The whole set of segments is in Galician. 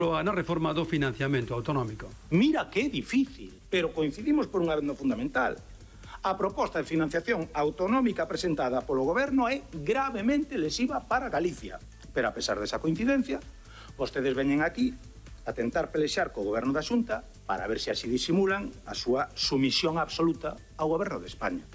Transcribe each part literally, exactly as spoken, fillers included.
na reforma do financiamento autonómico. Mira que é difícil, pero coincidimos por unha vez no fundamental. A proposta de financiación autonómica presentada polo Goberno é gravemente lesiva para Galicia. Pero a pesar desa coincidencia, vostedes veñen aquí a tentar pelexar co Goberno da Xunta para ver se así disimulan a súa sumisión absoluta ao Goberno de España.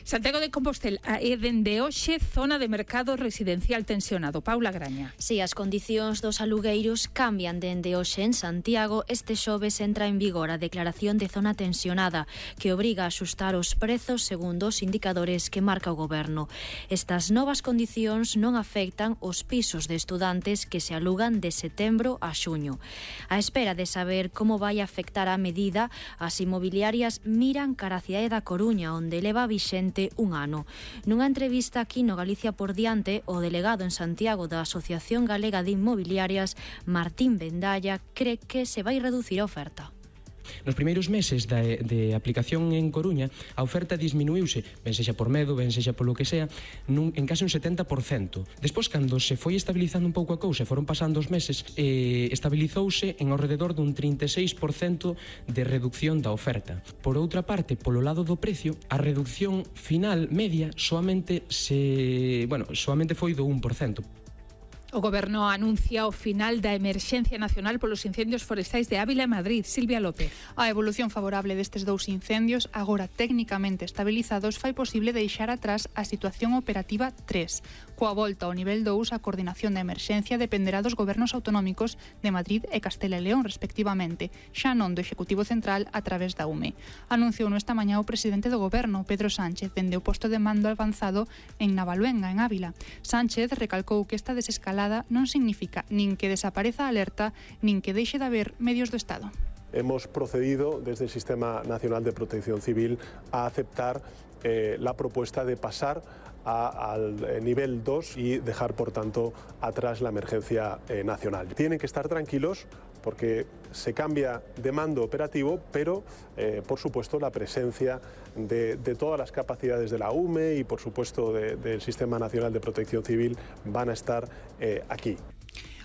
Santiago de Compostela é dende hoxe zona de mercado residencial tensionado. Paula Graña. Si, as condicións dos alugueiros cambian dende hoxe en Santiago. Este xoves entra en vigor a declaración de zona tensionada que obriga a axustar os prezos segundo os indicadores que marca o Goberno. Estas novas condicións non afectan os pisos de estudantes que se alugan de setembro a xuño. A espera de saber como vai afectar a medida, as inmobiliarias miran cara a cidade da Coruña, onde leva vixente un ano. Nunha entrevista aquí no Galicia por diante, o delegado en Santiago da Asociación Galega de Inmobiliarias, Martín Vendalla, cree que se vai reducir a oferta. Nos primeiros meses de, de aplicación en Coruña, a oferta disminuíuse, ben sexa por medo, ben sexa polo que sea, nun, en case un setenta por cento. Despois, cando se foi estabilizando un pouco a cousa, foron pasando os meses, eh, estabilizouse en ao rededor dun trinta e seis por cento de reducción da oferta. Por outra parte, polo lado do precio, a reducción final media soamente se, bueno, soamente foi do un por cento. O Goberno anuncia o final da emerxencia nacional polos incendios forestais de Ávila e Madrid. Silvia López. A evolución favorable destes dous incendios, agora técnicamente estabilizados, fai posible deixar atrás a situación operativa tres. Coa volta ao nivel dous, a coordinación da emerxencia dependerá dos gobernos autonómicos de Madrid e Castela e León, respectivamente, xa non do Executivo Central a través da U M E. Anunciou esta mañá o presidente do Goberno, Pedro Sánchez, dende o posto de mando avanzado en Navaluenga, en Ávila. Sánchez recalcou que esta desescalada non significa nin que desapareza a alerta, nin que deixe de haber medios do Estado. Hemos procedido desde el Sistema Nacional de Protección Civil a aceptar eh, la propuesta de pasar a, al nivel dos y dejar, por tanto, atrás la emergencia eh, nacional. Tienen que estar tranquilos porque se cambia de mando operativo, pero, eh, por supuesto, la presencia de, de todas las capacidades de la U M E y, por supuesto, de, del Sistema Nacional de Protección Civil van a estar eh, aquí.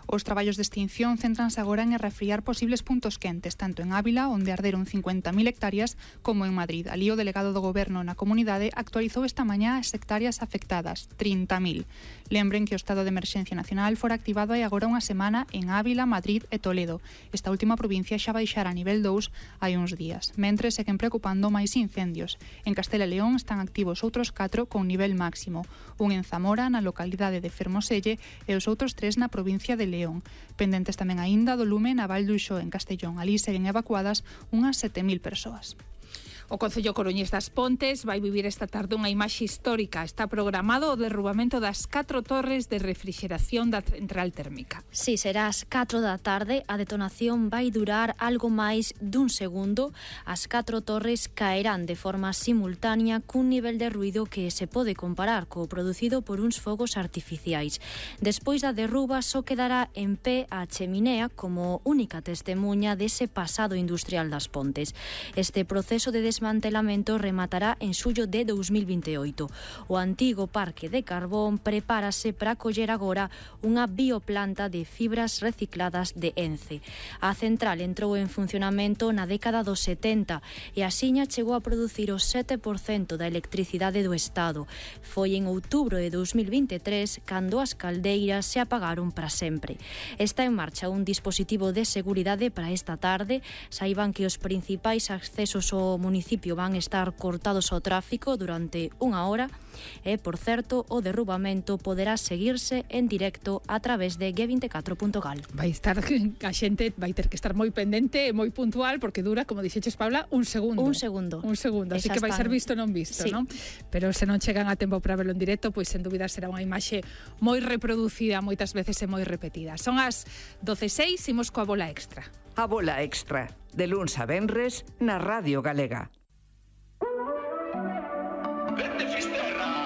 Os traballos de extinción céntranse agora en refriar posibles puntos quentes, tanto en Ávila, onde arderon cincuenta mil hectáreas, como en Madrid. Alí o delegado do Goberno na comunidade actualizou esta mañá as hectáreas afectadas, trinta mil. Lembren que o estado de emerxencia nacional fora activado hai agora unha semana en Ávila, Madrid e Toledo. Esta última provincia xa baixara a nivel dous hai uns días. Mentres, seguen preocupando máis incendios. En Castela e León están activos outros catro con nivel máximo. Un en Zamora, na localidade de Fermoselle, e os outros tres na provincia de León. Pendentes tamén aínda do lume na Val do Uxó, en Castellón. Alí seguen evacuadas unhas sete mil persoas. O Concello Coruñés das Pontes vai vivir esta tarde unha imaxe histórica. Está programado o derrubamento das catro torres de refrigeración da central térmica. Si, será ás catro da tarde. A detonación vai durar algo máis dun segundo. As catro torres caerán de forma simultánea cun nivel de ruido que se pode comparar co producido por uns fogos artificiais. Despois da derruba só quedará en pé a cheminea como única testemunha dese pasado industrial das Pontes. Este proceso de desmantelamento rematará en xullo de dous mil vinte e oito. O antigo parque de carbón prepárase para acoller agora unha bioplanta de fibras recicladas de Ence. A central entrou en funcionamento na década dos setenta e axiña chegou a producir o sete por cento da electricidade do Estado. Foi en outubro de dous mil vinte e tres cando as caldeiras se apagaron para sempre. Está en marcha un dispositivo de seguridade para esta tarde. Saiban que os principais accesos ao municipio van estar cortados ao tráfico durante unha hora e, por certo, o derrubamento poderá seguirse en directo a través de G vinte e catro punto gal. Vai estar, a xente vai ter que estar moi pendente e moi puntual porque dura, como dixeches, Paula, un segundo. Un segundo. Un segundo, así que vai ser visto non visto, sí. non? Pero se non chegan a tempo para verlo en directo, pois sen dúbida será unha imaxe moi reproducida, moitas veces e moi repetida. Son as doce e seis, imos coa bola extra. A bola extra, de luns a venres, na Radio Galega.